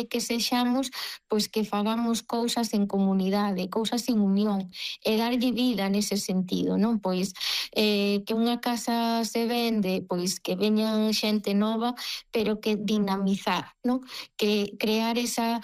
que sexamos, pois que fagamos cousas en comunidade, cousas en unión, e darlle vida nese sentido, non? Pois que unha casa se vende, pois que veñan xente nova, pero que dinamizar, non? Que crear esa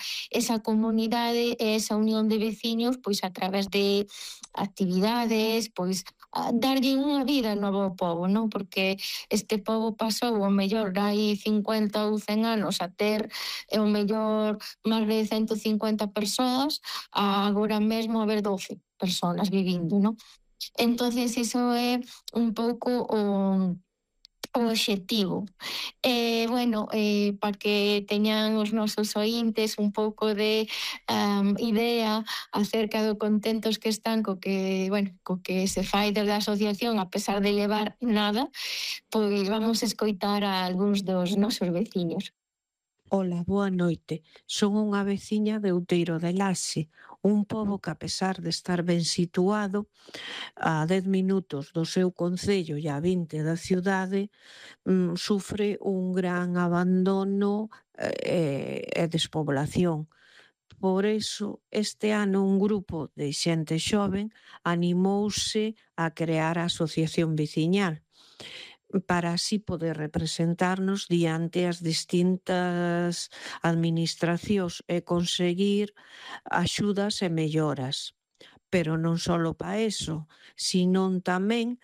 comunidade e esa unión de veciños, pois a través de actividades, pois darlle unha vida nova ao pobo, non? Porque este pobo pasou o mellor hai 50 ou 100 anos a ter o mellor máis de 150 persoas, a agora mesmo haber 12 persoas vivindo, non? Entonces iso é un pouco o obxectivo. Bueno, para que teñan os nosos oíntes un pouco de idea acerca do contentos que están co que se fai desde a asociación, a pesar de levar nada, pois vamos escoitar a algúns dos nosos veciños. Ola, boa noite. Son unha veciña de Outeiro de Laxe, un pobo que, a pesar de estar ben situado, a 10 minutos do seu concello e a 20 da cidade, sufre un gran abandono e despoblación. Por iso, este ano un grupo de xente xoven animouse a crear a asociación veciñal para así poder representarnos diante as distintas administracións e conseguir axudas e melloras. Pero non só para eso, sino tamén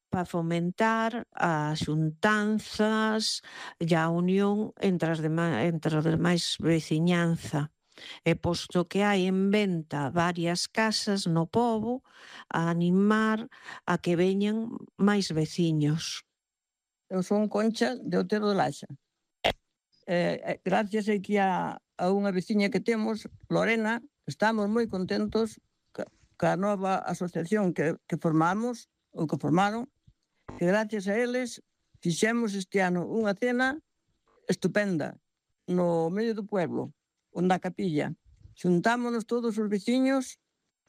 para fomentar as xuntanzas e a unión entre as demais veciñanza. E posto que hai en venta varias casas no pobo, a animar a que veñan máis veciños. Eu son Concha de Outeiro de Laxe. Gracias aquí a unha veciña que temos, Lorena, estamos moi contentos ca nova asociación que formamos, ou que formaron, que gracias a eles fixemos este ano unha cena estupenda no medio do pueblo, onde a capilla. Xuntámonos todos os veciños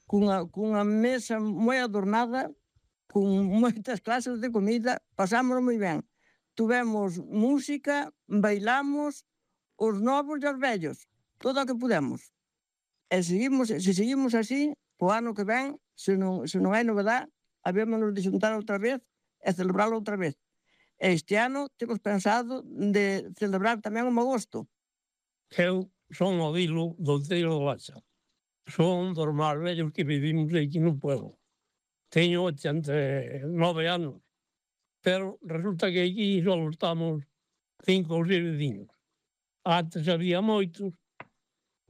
cunha mesa moi adornada, con moitas clases de comida, pasámoslo moi ben. Tuvemos música, bailamos, os novos e os vellos, todo o que pudemos. E se seguimos así, o ano que ven, se non hai novedade, habémonos de xuntar outra vez e celebrarlo outra vez. Este ano temos pensado de celebrar tamén o agosto. Eu son o Dilo do Outeiro de Laxe. Son dos máis vellos que vivimos aquí no pueblo. Teño 89 anos. Pero resulta que aquí só estamos 5 ou 6 veciños. Antes había moitos,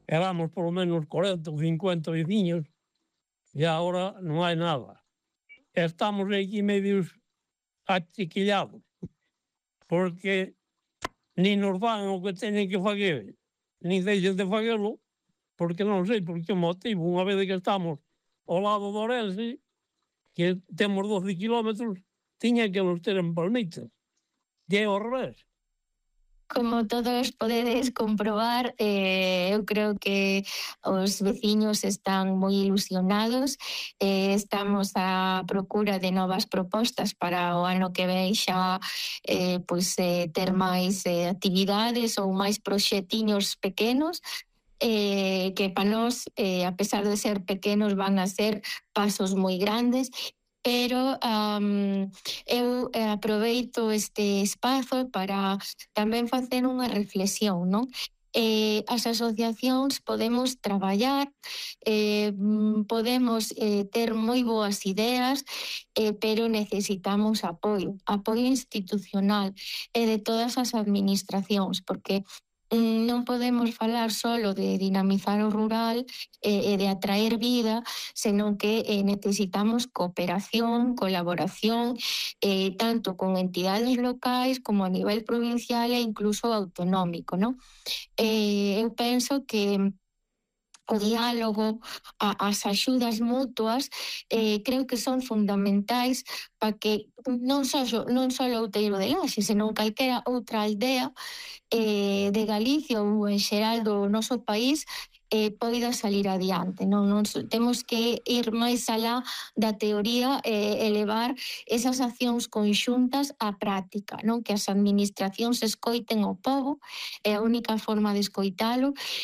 éramos polo menos 40 ou 50 veciños, e agora non hai nada. Estamos aquí medios achiquillados, porque nin nos fan o que teñen que fazer, nin deixen de facelo, porque non sei por que motivo, unha vez que estamos ao lado do Orense, que temos 12 kilómetros, tiña que nos ter en Palmitas. E é ao revés. Como todos podedes comprobar, eu creo que os veciños están moi ilusionados, estamos á procura de novas propostas para o ano que ven xa ter máis actividades ou máis proxectiños pequenos, que para nós, a pesar de ser pequenos, van a ser pasos moi grandes. Pero eu aproveito este espazo para tamén facer unha reflexión, non? As asociacións podemos traballar, podemos ter moi boas ideas, pero necesitamos apoio institucional e de todas as administracións, porque non podemos falar solo de dinamizar o rural e de atraer vida, senón que necesitamos cooperación, colaboración, tanto con entidades locais como a nivel provincial e incluso autonómico, non? Eu penso que o diálogo, as axudas mutuas, creo que son fundamentais para que non só Outeiro de Laxe, senón calquera outra aldea de Galicia ou en xeral do noso país poida salir adiante. Non temos que ir máis alá da teoría e levar esas accións conxuntas á práctica, non? Que as administracións escoiten o pobo, é a única forma de escoitalo,